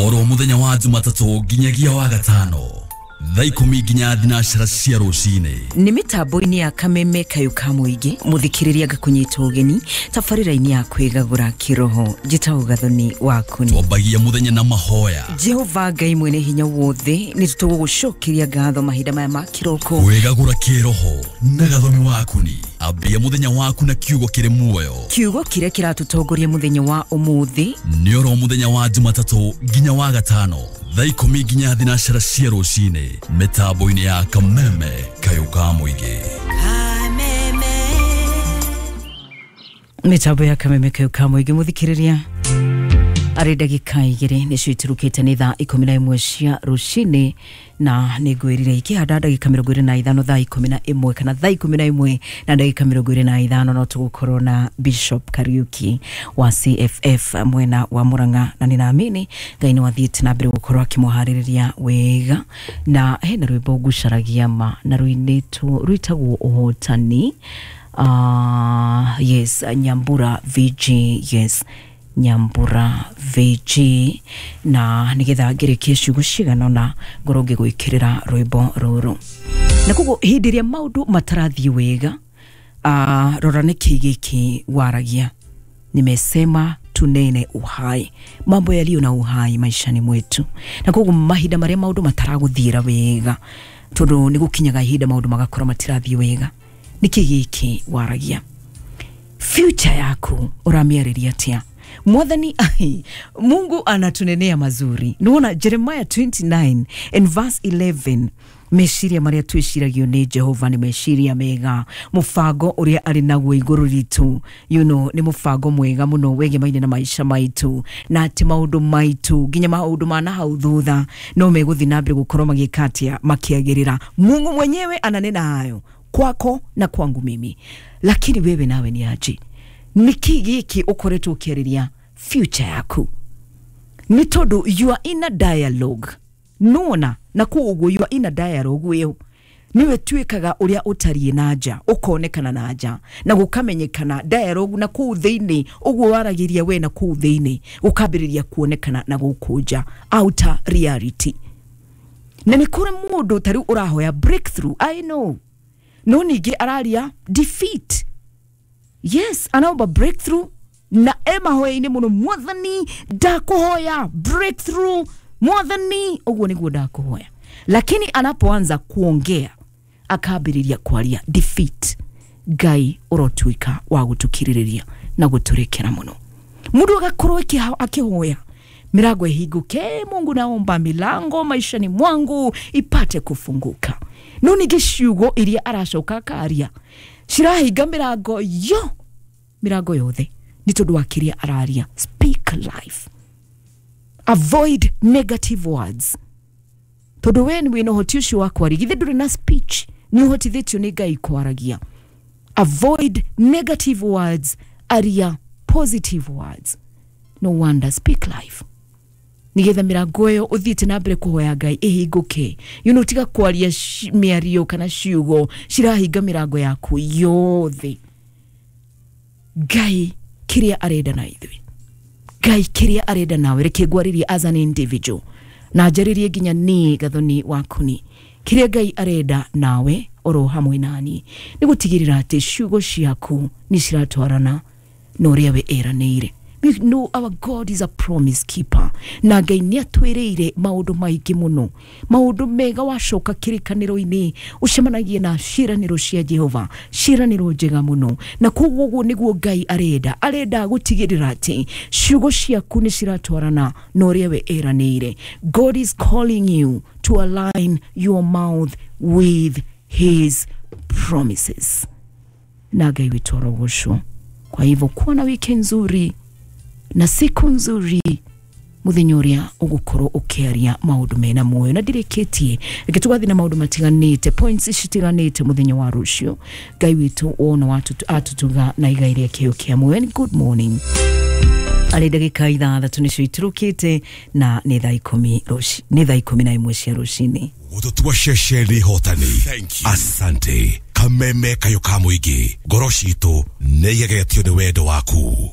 Oro muthenya wa Jumatatũ nginyagia wa gatano thaa 10 nginya 12 cia rũcinĩ. Nĩ mĩtambo-inĩ ya Kameme Kayũ ka Mũingĩ, mũthikĩrĩria ngakũnyita ũgeni tabarĩra-inĩ ya kwĩgagũra kĩroho. Njĩtagwo Gathoni Wakuni. Twambagia mũthenya na mahoya. Jehova Ngai mwene hinya wothe, nĩ tũgũgũcokeria ngatho mahinda maya ma kĩroko. Kwĩgagũra kĩroho na Gathoni Wakuni. Ambia mũthenya waku na kiugo kĩrĩ muoyo. Kiugo kĩrĩa kĩratũtongoria mũthenya wa ũmũthĩ nĩ oro mũthenya wa Jumatatũ nginya wa gatano thaa 10 nginya 12 cia rũcinĩ mĩtambo-inĩ ya Kameme Kayũ ka Mũingĩ. Mĩtambo ya Kameme Kayũ ka Mũingĩ, mũthikĩrĩria arĩ ndagĩka 2 nĩcio iturukĩte nĩ thaa 11 cia rũcinĩ, na nĩ ngwĩrire ikĩhanda ndagĩka 25 thaa 11 kana thaa 11 na ndagĩka 25 no tũgũkorwo na Bishop Kariuki wa CFF mwena wa Murang'a, na nĩnaamini Ngai nĩ wathiĩte na mbere gũkorwo akĩmũharĩrĩria wega. Na hena rwĩmbo ngucaragia ma na rũinĩtwo rwĩtagwo Ũhotani. Yes, Nyambura VG, yes, Nyambura VG. Na nigetha ngĩrĩkie ciugo cigana ũna ngorwo ngĩgwĩkĩrĩra rwĩmbo rũrũ. Na koguo hĩndĩ ĩrĩa maũndũ matarathiĩ wega, rora nĩkĩ gĩkĩ waragia. Nimesema tunene uhai, mambo yaliyo na uhai maishani mwetu. Na koguo mahinda marĩa maũndũ mataragũthiĩra wega, tondũ nĩ gũkinyaga ihinda maũndũ magakorwo matirathiĩ wega, nĩkĩ gĩkĩ waragia? Future yaku ũramĩarĩria atĩa? Mwathani, Mungu anatunenea mazuri. Nuona Jeremiah 29 and verse 11, meciria maria twiciragio nĩ Jehova nĩ meciria mega, mũbango ũrĩa arĩ naguo igũrũ ritũ, you know, nĩ mũbango mwega mũno wegemaine na maisha maitu, na atĩ maũndũ maitu nginya maũndũ ma na hau thutha no megũthiĩ na mbere gũkorwo magĩka atĩa, makĩagĩrĩra. Mungu mwenyewe ananena hayo kwako na kwangu mimi, lakini wewe nawe ni aje? Nĩkĩ gĩkĩ ũkoretwo ũkĩarĩria future yaku? Nĩ tondũ you are in a dialogue. Nona na koguo you are in a dialogue wĩyo niwe tuĩkaga ũrĩa ũtariĩ na nja, ũkonekana na nja na gũkamenyekana dialogue na kũu thĩinĩ, ũguo waragĩria we na kũu thĩinĩ ũkambĩrĩria kuonekana na gũkũ nja, outer reality. Na nĩ kũrĩ mũndũ ta rĩu ũrahoya breakthrough, I know, no ningĩ araria defeat. Yes, anaomba breakthrough na e mahoya-inĩ mũno, Mwathani ndakũhoya breakthrough, Mwathani ũguo nĩguo ndakũhoya. Lakini anapoanza kuongea akambĩrĩria kwaria defeat. Ngai ũrotuĩka wa gũtũkirĩrĩria na gũtũrekera mũno. Mũndũ agakorwo akĩhoya milango ihingũke, Mungu naomba milango maishani mwangu ipate kufunguka. No ningĩ ciugo iria aracoka akaria cirahinga mirango yo, mirango yothe nĩ tondũ wa kĩrĩa araria. Speak life, avoid negative words, tondũ we nĩ wĩna ũhoti ũcio wa kwaria. Githĩ ndũrĩ na speech? Nĩ ũhotithĩtio nĩ Ngai kwaragia. Avoid negative words, aria positive words. No wonder, speak life, nigetha mirango ĩyo ũthiĩte na mbere kũhoya Ngai ĩhingũke. You know, tiga kwaria mĩario kana ciugo cirahinga mirango yaku yothe. Ngai kĩrĩa arenda na ithuĩ, Ngai kĩrĩa arenda nawe, reke ngwarĩrie as an individual na njarĩrie nginya niĩ Gathoni Wakuni. Kĩrĩa Ngai arenda nawe oro hamwe nani nĩ gũtigĩrĩra atĩ ciugo ciaku nĩ ciratwarana na ũrĩa we eranĩire. We know our God is a promise keeper. Na Ngai nĩ atwĩrĩire maũndũ maingĩ mũno, maũndũ mega. Wacoka kĩrĩkanĩro-inĩ ũcemanagie na ciĩranĩro cia Jehova, ciĩranĩro njega mũno. Na koguo ũguo nĩguo Ngai arenda. Arenda gũtigĩrĩra atĩ ciugo ciaku nĩ ciratwarana na ũrĩa we eranĩire. God is calling you to align your mouth with his promises. Na Ngai witũ arogocwo. Kwa hivyo kuwa na wiki nzuri na siku nzuri, muthenya ũrĩa ũgũkorwo ũkĩaria maũndũ mena muoyo. Na ndirĩkĩtie, reke tũgathiĩ na maũndũ matiganĩte, points citiganĩte mũthenya wa rũciũ. Ngai witũ wona atũtuga na igai rĩa kĩo kĩa muoyo. And good morning. Arĩ ndagĩka 6 nĩcio iturũkĩte na nĩ thaa 10 rũci, nĩ thaa 11 cia rũcinĩ. Gũtũtua ceceni hotani. Asante. Kameme Kayũ ka Mũingĩ, ngoro citũ nĩ igegetio nĩ wendo waku.